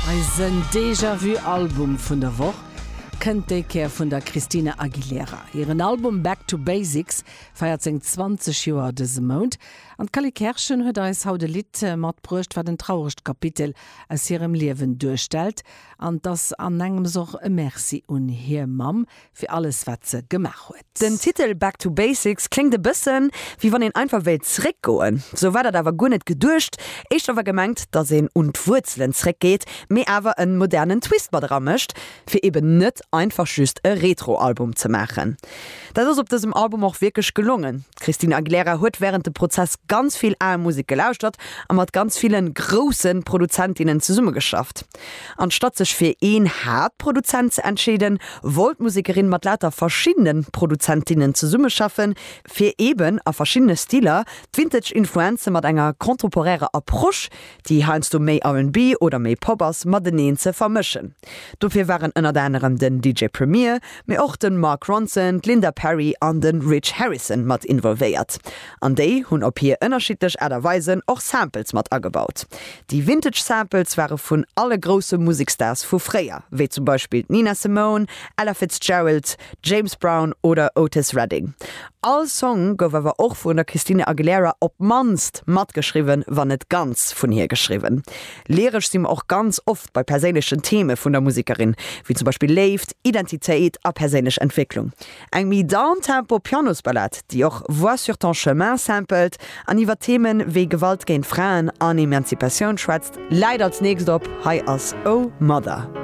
Eisen Déjà-Vu Album vun der Woch kënnt déi Kéier vun der Christina Aguilera. Hiren Album Back to Basics feiert seng 20 Joer dëse Mount. An d'Cally Kerschen huet eis haut e Lidd matbruecht, wat en trauregt Kapitel aus hirem Liewen duerstellt. An 't ass an engems och e Merci un hir Mamm fir alles wat se gemaach huet. Den Titel Back to Basics kléngt e bëssen, wéi wann een einfach wéilt zeréckgoen. Sou war dat awer guer net geduecht. Éischter war gemengt, dass een un d'Wuerzelen zeréckgeet, mee awer en modernen Twist mat eramécht, fir eben net einfach just e Retro-Album ze maachen. Dat ass op dësem Album och wierklech gelongen. D'Christina Aguilera huet wärend dem Prozess ganz vill al Musek gelauschtert a mat ganz ville grousse Produzentinnen zesummegeschafft. Anstatt sech fir een Haaptproduzent ze entscheeden, wollt d'Musekerin mat lauter verschiddene Produzentinnen zesummeschaffen, fir eben a verschiddene Stiler d'Vintage Influenze mat enger contemporärer Approche, déi heiansdo méi R&B oder méi Pop ass, mateneen ze vermëschen. Dofir waren ënnert anerem den DJ Premier, mee och de Mark Ronson, d'Linda Perry an de Rich Harrison mat involvéiert. An déi hunn op hir ënnerschiddlech Aart a Weisen och Samples mat agebaut. Déi Vintage Samples ware vun alle grousse Musekstars vu fréier, wéi zum Beispill d'Nina Simone, Ella Fitzgerald, James Brown oder Otis Redding. All Song gouf awer och vun der Christina Aguilera op d'mannst matgeschriwwen, wann net ganz vun hir geschriwwen. Lyresch si mer och ganz oft bei perséinlechen Theme vun der Musekerin, wéi zum Beispill Léift, Identitéit a perséinlech Entwécklung. Eng méi downtempo Pianosballad, déi och Vois sur ton chemin sampelt an iwwer Themen wéi Gewalt géint Fraen an Emanzipatioun schwätzt, läit als nächst op. Hei ass Oh Mother.